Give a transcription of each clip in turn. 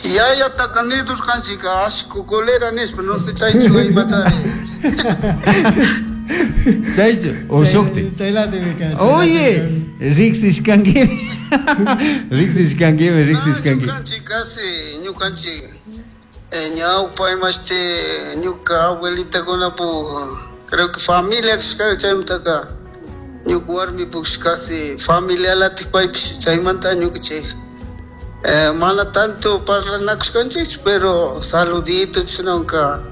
Yayataqa nidurqanchik ashku colera nispa, no sé chaychu imachari. Chaychu o shukti. Chaylatimi kan. Oye, riqsishkankimi. Riqsishkankimi, riqsishkanki. Ñukanchik casi, ñukanchik ñawpa imashti ñuka abuelitakunapu creo que familia kashka chaymantaka ñuka warmipush casi familialatik paypish chaymanta ñukanchik mana tanto parlanakushkanchikchu, pero saludito chishnanka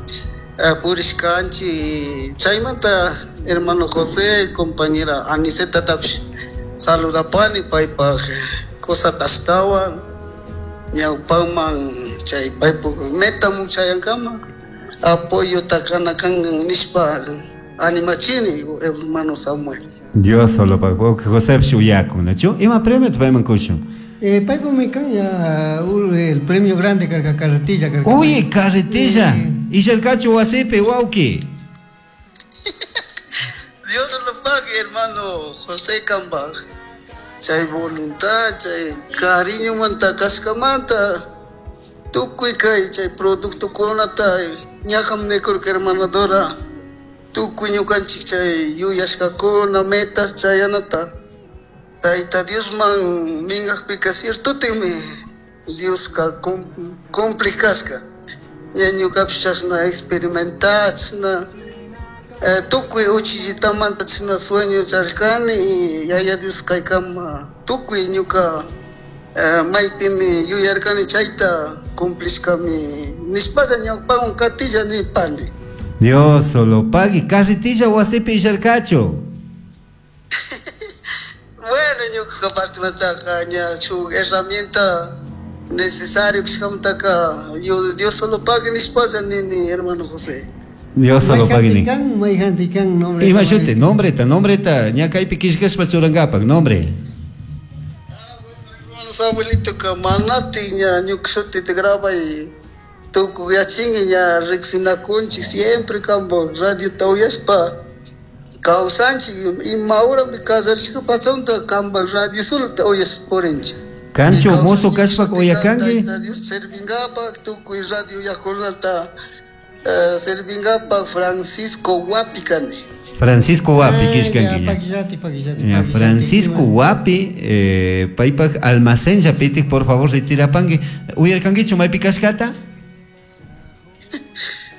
purishkanchik. Chaymanta hermano José, compañera Anisetatapish saludapani paypaj cosata ashtawan ñawpaman chay paypuk metamun chayankama apoyota kana kan nishpa animachini, hermano Samuel. Dios solo pague. José uyakun, ¿nachu? Ima premio payman kushun? Paypumi kan ya el premio grande karka, carretilla karka. Oye, carretilla. Isharkachu wasipi, wawki. Dios lo pague, hermano José Cambaj. Chay voluntad, chay cariño manta kashkamanta tukuy kay chay productokunata ñaqam nikurka hermana Dora, tukuy ñukanchik chay yuyashkakuna metas chayanata Tayta Diosman minkaqpika ciertotimi Dioska cumplik kashka. Ña ñukapish chashna experimentar, chashna tukuy uchillitamanta chashna sueño charishkani y Yaya Dios kaykama tukuy ñuka maypimi yuyarkani chayta cumplishkami nishpalla ñawpawan katilla nipani. Dios solo pague. Carretilla wasipi isharkachu. Bueno, ñuka partimantaka ña shuk herramienta necesario kashkamantaka Dios solo pague nishpalla nini, hermano José. Dios solo pague ni. Mayjanti kan nombre. Ima shuti, nombreta, nombreta, ña kaypi killkashpa churankapak, nombre. Ah, bueno, hermano Samuelito ka manati ña ñuka shutita grabay tukuy yachinki ña riqsinakunchik siempre kampak radiota uyashpa kawsanchik, ima horami kasarishka pachanta kampak radio solota uyashpa purinchik. Kanchu mozo kashpa uyakanki? Tayta Dios servingapak tukuy radio uyaqkunata servingapak Francisco Huapi kani. Francisco Huapi Ah, kishkanki ya, ña. Paquillati, paquillati, Ya, paquillati, Francisco ima. Huapi, paypak almacén llapitik, por favor, retirapanki. Uyarkankichu maypi kashkata?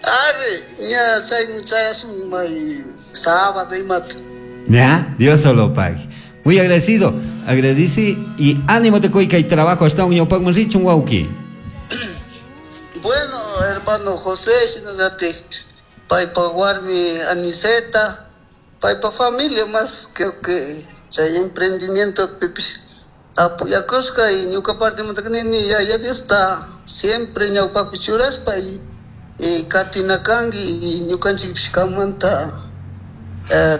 Arre, ña chaymun chayashun may sábado imata. Ya, Dios solo pague. Muy agradecido, agradece y ánimo te kay trabajo hasta un ñawpakman richun, wawki. Bueno, hermano José, shinallati paypa warmi Aniseta, paypa familia más creo que chay emprendimiento pipish apoyakushka y ñuka partimanta nini Yaya Diosta siempre ñawpapi churashpa y katinakanki y ñukanchikpish kamanta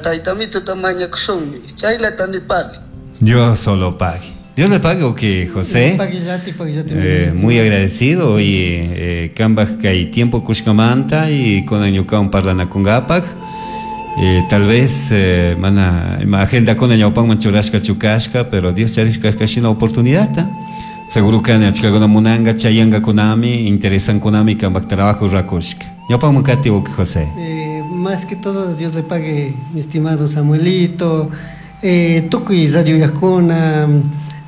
taytamituta mañakushunmi, chaylata nipani. Dios solo pague. Dios le pague, o qué, José. Paquillati, paquillati, Muy agradecido, oye, kambaj kay tiempo kushkamanta y con ñukawan parlanakungapak. Tal vez mana ima agenda kuna ñawpanman churashka chukashka, pero Dios charishka kashina oportunidad, ¿ta? Seguro que achkakuna munanga, chayanga kunami, interesan kunami kambaj trabajo rakushka. Ñawpanman kati, o qué, José. Más que todo, Dios le pague, mi estimado Samuelito, tukuy radio uyaqkuna,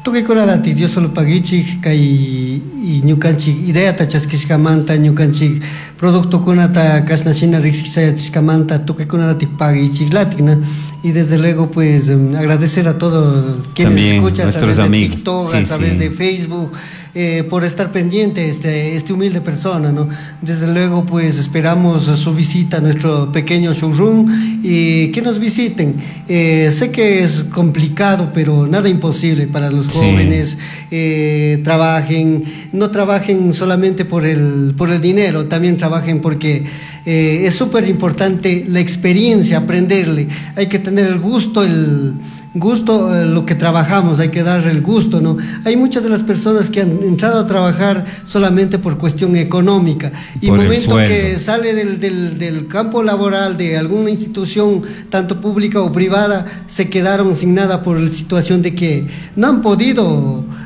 tukuy kunalati Dios solo paguichik, kay y ñukanchik ideata chaskishkamanta, ñukanchik productokunata kashna shina riqsichayachishkamanta, tukuy kunalati paguichik latik, ¿no? Y desde luego, pues, agradecer a todos quienes También escuchan a nuestros través de amigos. TikTok, a través de Facebook, por estar pendiente este humilde persona, ¿no? Desde luego, pues, esperamos su visita a nuestro pequeño showroom y que nos visiten. Sé que es complicado, pero nada imposible para los jóvenes. Trabajen, no trabajen solamente por el dinero, también trabajen porque es súper importante la experiencia, aprenderle. Hay que tener el gusto, el gusto, lo que trabajamos, hay que darle el gusto, ¿no? Hay muchas de las personas que han entrado a trabajar solamente por cuestión económica y Por el momento sueldo. que sale del campo laboral de alguna institución, tanto pública o privada, se quedaron sin nada por la situación de que no han podido